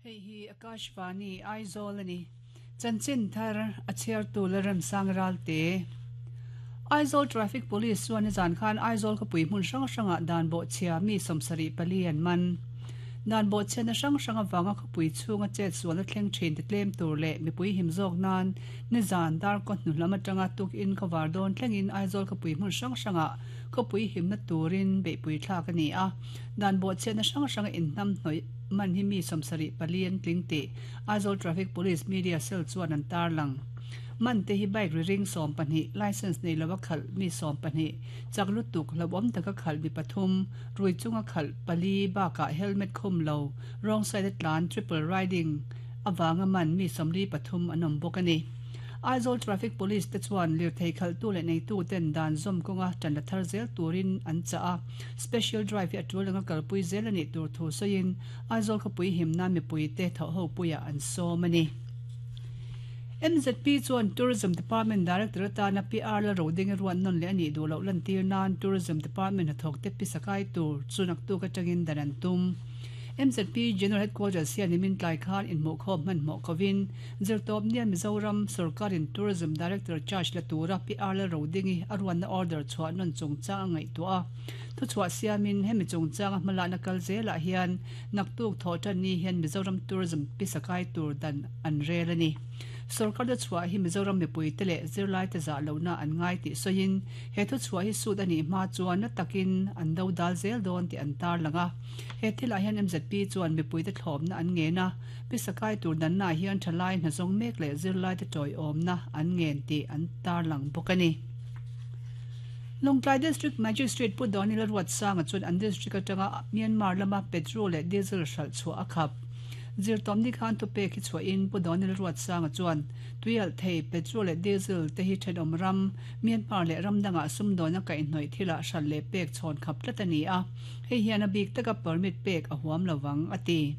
Hei hi Akashvani Aizawl a ni. Chanchin thar a chhiartu Lalremsang Ralte. Aizawl Traffic Police chuan nizan khan Aizawl khawpui hmun hrang hrangah dan bawhchhia mi 74 an man. Dan bawhchhiatna hrang hrang avanga khawpui chhunga chet sualna thleng thin ti tlem tur leh mipui him zawk nan nizan darkaw hnu lam atanga tukin khawvar dawn thlengin Aizawl khawpui hmun hrang hrangah khawpui himna turin beihpui thlak a ni a. Dan bawhchhiatna hrang hranga inhnamhnawih man hi mi 74 an tling tih Aizawl Traffic Police Media Cell chuan an tarlang. Man te hi bike ri ring 12, licence nei lova khalh mi 12, chak lutuk hlauhawm taka khalh mi pathum, rui chunga khalh pali bakah helmet khum lo, wrong side a tlan, triple riding, avanga man mi 43 an awm bawk a ni. Aizawl Traffic Police te chuan lirthei khalhtu leh neitu ten dan zawm kawnga tan la thar zel turin an chah a, Special Drive hi a tul anga kalpui zel a nih tur thu sawiin Aizawl khawpui himna mipuite thawhhopuiah an sawm a ni. MZP chuan Tourism Department Director atana PR Lalroding a ruat nawn leh a nih duh loh lantir nan Tourism Department hnathawkte pisa kai tur chu naktuk atangin dan an tum. MZP General Headquarters hian nimin tlai khan inhmuhkhawm hmanhmawh kovin Zirtawpnia Mizoram sawrkarin Tourism Director charge la tura PR Lalrodingi a ruatna order chhuah nawn chungchang a ngaihtuah a. Thuchhuah siamin hemi chungchanga hmalakna kal zelah hian naktuk thawh tan ni hian Mizoram Tourism pisa kai tur dan an rel a ni. Sorkar thuchhuah hi Mizoram mipuite leh zirlaite zah lohna an ngai tih sawiin he thuchhuah hi sut a nih hma chuan na takin an do dal zel dawn tih an tarlang a. He thilah hian MZP chuan mipuite thlawpna an ngen a, pisa kai tur dannaah hian thalai hnazawng mek leh zirlaite tawiawmna an ngen tih an tarlang bawk a ni. Lawngtlai District Magistrate Pu Daniel Ruatsanga chuan an district atanga Myanmar lama petrol leh diesel hralh chhuah a khap. Zirtawmni khan thupek hi chhuahin Pu Daniel Ruatsanga chuan tuialh thei petrol leh diesel te hi thenawm ram, Myanmar leh ram dangah sumdawn a kaihhnawih thilah hralh leh pek chhawn khap tlat a ni a, hei hian a bik taka permit pek a huam lovang, a ti.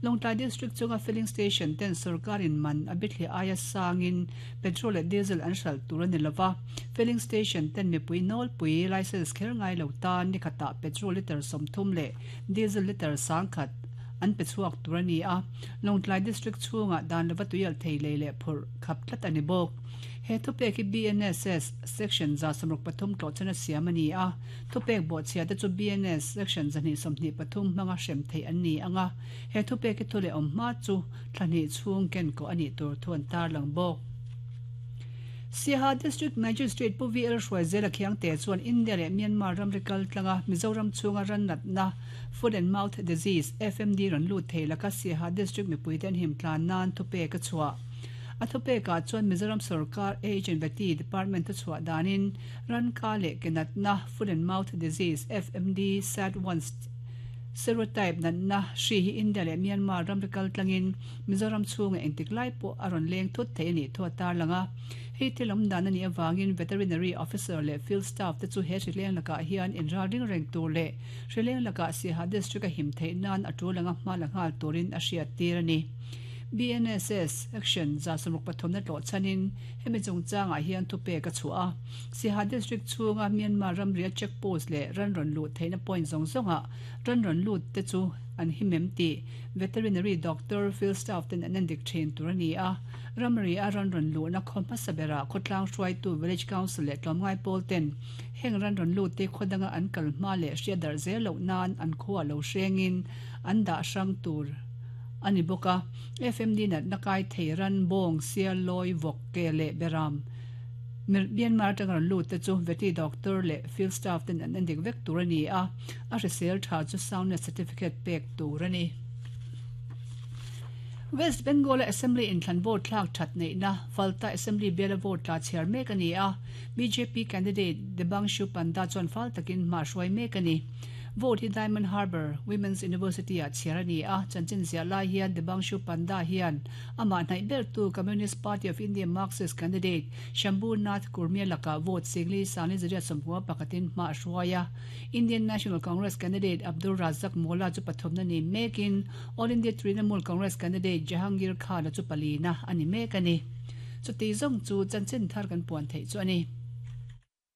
Lawngtlai District chunga filling station ten sorkarin man a bithliah aia sangin Petrol leh diesel an hralh tur a ni lova, filling station ten mipui nawlpui licence kher ngai lo tan ni khatah petrol litre 30 leh diesel litre 10,000 an pe chhuak tur a ni a, Lawngtlai District chhungah dan lova tuialh thei lei leh phurh khap tlat a ni bawk. He thupek hi BNSS Section 163 tlawhchana siam a ni a, thupek bawhchhia te chu BNS Section 223 hmanga hrem theih an ni ang a, he thupek hi thu leh awm hma chu Thla hnih chhung ken kawh a nih tur thu an tarlang bawk. Siaha District Magistrate Pu VL Hruaizela Khiangte chuan India leh Myanmar ramri kal tlanga Mizoram chhunga ran natna Foot and Mouth Disease, FMD, rawn lut thei laka Siaha District mipuite an him tlan nan thupek a chhuah. A thupekah chuan Mizoram sorkar Age and Vety Department thuchhuah danin ran ka leh ke natna Foot and Mouth Disease, FMD, SAT-1, Serotype natna hri hi India leh Myanmar ramri kal tlangin Mizoram chhungah engtik lai pawh a rawn leng thut thei a nih thu a tarlang a. Hei thil awm dan a nih avangin Veterinary Officer leh Field Staff te chu he hrileng lakah hian inral ring reng tur leh hrileng lakah Siaha District a him theih nan a tul anga hma la nghal turin a hriattir a ni. BNSS Action 63 na tlawh chhanin hemi chungchangah hian thupek a chhuah a. Siaha District chhunga Myanmar ramria check post leh ran rawn luh theihna point zawng zawngah ran rawn lut te chu an him em tih Veterinary Doctor, Field Staff ten an endik thin tur a ni a. Ramria ran rawn luhna khaw hmasa berah khawtlang hruaitu Village Council leh tlawmngai pawl ten heng ran rawn lut te khaw danga an kal hma leh hriat darh zel loh nan an khuaa lo hrengin an dah hrang tur a ni bawk a. FMD natna kai thei ran, bawng, sial, lawi, vawk, ke leh beram, Myanmar atanga rawn lut te chu Vety Doctor leh Field Staff ten an endik vek tur a ni a, a hrisel tha chu Soundness Certificate pek tur a ni. West Bengal-a Assembly inthlan vote thlak that neihna Falta Assembly biala vote tla chhiar mek a ni a, bjp candidate Debangshu Panda chuan fal takin hma hruai mek a ni. Vote hi Diamond Harbour Women's University-ah chhiar a ni a, chanchin ziah lai hian Debangshu Panda hian Amah hnaih bertu Communist Party of India Marxist candidate Shambhu Nath Kurmia lakah vote Singli Sangli Zariat sawmhua pakhatin hma a hruai a. Indian National Congress candidate Abdul Razak Molla chu pathumna ni mekin All India Trinamool Congress candidate Jahangir Khan-a chu palina a ni mek a ni. Chuti zawng chu chanchin thar kan puan theih chu a ni.